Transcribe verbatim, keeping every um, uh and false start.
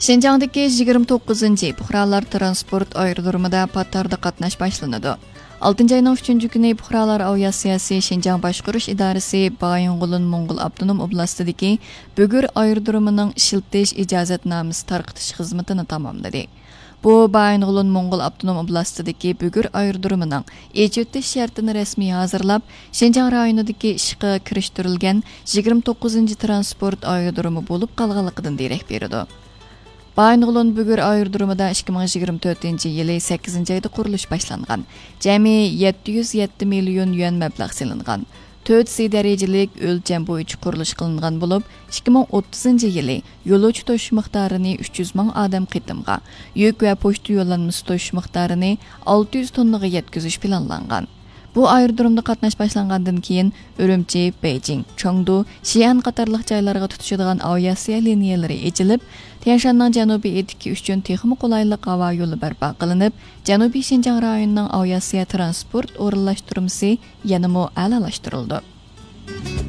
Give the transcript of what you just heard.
شىنجاڭدىكى يىگىرمە توققۇزىنچى پۇقرالار تىرانسپورت ئايرودرومىدا پات ئارىدا قاتناش باشلىنىدۇ. ئالتىنچى ئاينىڭ ئۈچىنچى كۈنى پۇقرالار ئاۋىئاتسىيەسى شىنجاڭ باشقۇرۇش ئىدارىسى بايىنغولىن موڭغۇل ئاپتونوم ئوبلاستىدىكى بۈگۈر ئايرودرومىنىڭ ئىشلىتىش ئىجازەتنامىسى تارقىتىش خىزمىتىنى تاماملىدى. بۇ بايىنغولىن موڭغۇل ئاپتونوم ئوبلاستىدىكى بۈگۈر ئايرودرومىنىڭ ئېچىۋېتىش شەرتىنى رەسمىي ھازىرلاپ، شىنجاڭ رايونىدىكى ئىشقا كىرىشتۈرۈلگەن يىگىرمە توققۇزىنچى تىرانسپورت ئايرودرومى بولۇپ قالغانلىقىدىن دېرەك بېرىدۇ. بايىنغولىن بۈگۈر ئايرودرومىدا ئىككى مىڭ يىگىرمە تۆتىنچى يىلى سەككىزىنچى ئايدا قۇرۇلۇش باشلانغان. جەمئىي يەتتە يۈز يەتتە مىليون يۈەن مەبلەغ سېلىنغان. تۆت سى دەرىجىلىك ئۆلچەم بويىچە قۇرۇلۇش قىلىنغان بولۇپ، ئىككى مىڭ ئوتتۇزىنچى يىلى يولۇچى توشۇش مىقدارىنى ئۈچ يۈز مىڭ ئادەم قېتىمغا، يۈك ۋە پوچتا يوللانمىسى توشۇش مىقدارىنى ئالتە يۈز توننىغا يەتكۈزۈش پىلانلانغان. بۇ ئايرودرومدا قاتناش باشلانغاندىن كېيىن، ئۈرۈمچى، بېيجىڭ، چېڭدۇ، شىئەن قاتارلىق جايلارغا تۇتىشىدىغان ئاۋىئاتسىيە لىنىيەلىرى ئېچىلىپ، تيەنشاننىڭ جەنۇبىي ئېتىكى ئۈچۈن تېخىمۇ قولايلىق ھاۋا يولى بەرپا قىلىنىپ، جەنۇبىي شىنجاڭ رايونىنىڭ ئاۋىئاتسىيە تىرانسپورت ئورۇنلاشتۇرمىسى يەنىمۇ ئەلالاشتۇرۇلىدۇ.